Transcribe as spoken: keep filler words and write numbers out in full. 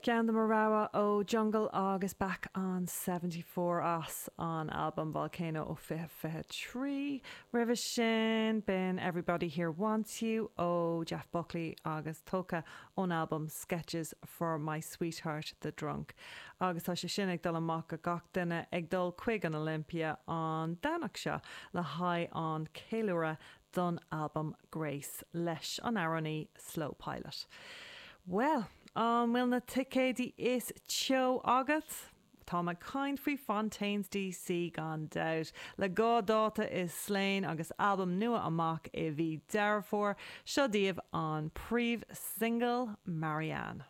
Ceann de mo rogha ó Jungle agus Back on seventy four as an albam Volcano ó fiche fiche trí. Roimhe sin b'in Everybody Here Wants You ó Jeff Buckley agus tógtha ón albam Sketches for My Sweetheart the Drunk. Agus tá sé sin ag dul amach go gach duine ag dul chuig an Olympia an Domhnach seo le haghaidh an ceiliúradh don albam Grace leis an amhránaí Slow Pilot. Well, an bhfuil na ticéidí is teo agat? Tá mé ag caint faoi Fontaines D C gan dabht, le dhá dáta i Slane agus albam nua amach i mhí Deireadh Fómhair, seo daoibh an príomh single, Marianne.